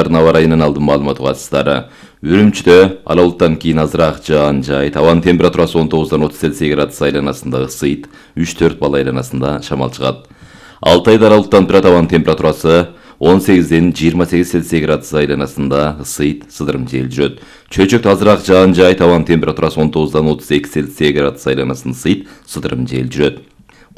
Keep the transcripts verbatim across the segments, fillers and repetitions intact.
айларын аба ырайынан алдын маалымат угасыздары. Үрүмчүдө ала булуттан кийин азыраак жаан жайыт. Абанын температурасы он тогуздан отуз Цельсий градус айланасында ысыйт, үч төрт балл айланасында шамал чыгат. Алтайда ала булуттан турат, абанын температурасы он сегизден жыйырма сегиз Цельсий градус айланасында ысыйт, сыдырым жел жүрөт. Чөйчөктө азыраак жаан жайыт, абанын температурасы он тогуздан отуз эки Цельсий градус айланасында ысыйт, сыдырым жел жүрөт.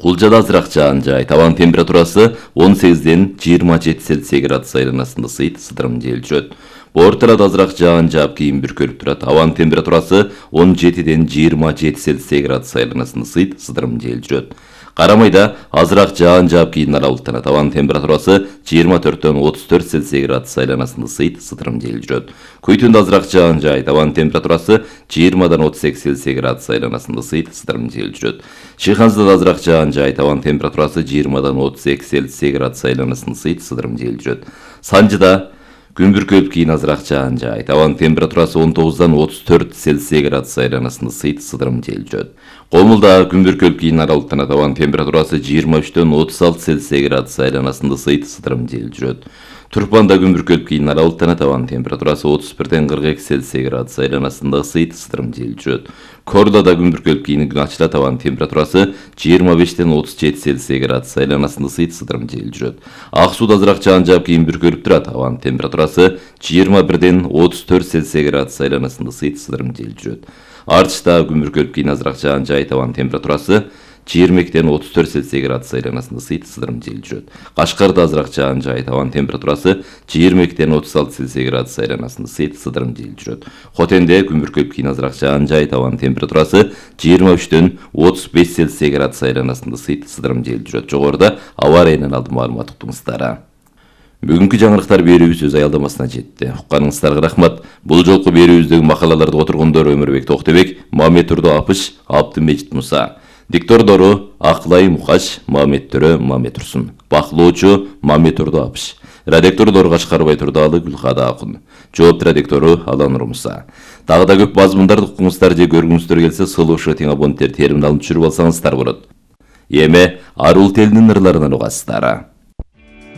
Кулжада азыраак жаан жайыт, абанын температурасы он сегизден жыйырма жети Цельсий градус айланасында ысыйт, сыдырым жел жүрөт. Орталарда азыраак жаан жаап кийин бүркөлүп турат. Абанын температурасы он жетиден жыйырма жети Цельсий градус айланасында ысыйт, сыдырым жел жүрөт. Карамайда азыраак жаан жаап кийин ала булуттанат. Абанын температурасы жыйырма төрттөн отуз төрт Цельсий градус айланасында ысыйт, сыдырым жел жүрөт. Көйтүндө азыраак жаан жайыт, абанын температурасы жыйырмадан отуз эки Цельсий градус айланасында ысыйт, сыдырым жел жүрөт. Шыйханзада азыраак жаан жайыт, абанын температурасы жыйырмадан отуз эки Цельсий градус айланасында ысыйт, сыдырым жел жүрөт. Санжыда күн бүркөлүп кийин азыраак жаан жайыт, абанын температурасы он тогуздан отуз төрт Цельсий градус айланасында ысыйт, сыдырым жел жүрөт. Комулда күн бүркөлүп кийин ара булуттанат, абанын температурасы жыйырма үчтөн отуз алты Цельсий градус айланасында ысыйт, сыдырым жел жүрөт. Турпанда күн бүркөлүп кийин ара булуттанат, абанын температурасы отуз бирден кырк эки Цельсий градус айланасында ысыйт, сыдырым жел жүрөт. Кордода күн бүркөлүп кийин күн ачылат, абанын температурасы жыйырма бештен отуз жети Цельсий градус айланасында ысыйт, сыдырым жел жүрөт. Ак сууда азыраак жаан жаап кийин бүркөлүп турат, абанын температурасы жыйырма бирден отуз төрт Цельсий градус айланасында ысыйт, сыдырым жел жүрөт. Артышта күн бүркөлүп кийин азыраак жаан жайыт, абанын температурасы жыйырма экиден отуз төрт Цельсий градус айланасында ысыйт, сыдырым жел жүрөт. Кашкарда азыраак жаан жайыт, абанын температурасы жыйырма экиден отуз алты Цельсий градус айланасында ысыйт, сыдырым жел жүрөт. Хотенде күн бүркөлүп кийин азыраак жаан жайыт, абанын температурасы жыйырма үчтөн отуз беш Цельсий градус айланасында ысыйт, сыдырым жел жүрөт. Жогоруда аба ырайынан алдын маалымат уктуңуздар. Бүгүнкү жаңылыктар берүүбүз өз аялдамасына жетти. Укканыңыздарга рахмат. Бул жолку берүүбүздөгү макалаларды отургондор Өмүрбек Токтебек, Мамет Турду Апыш, Абдымежит Муса. Диктордору Акылай Мукаш, Мамет Төрө, Мамет Турсун. Баклоочу Мамет Турду Апыш. Редактордор Кашкарбай Турдалы, Гүлкада Акун. Жоопту редактору Алан Муса. Дагы да көп мазмундарды укуңуздар же көргүңүздөр келсе, сылуучу тең абоненттер терминалын түшүрүп алсаңыздар болот. Эми Арул телинин ырларынан угасыздар.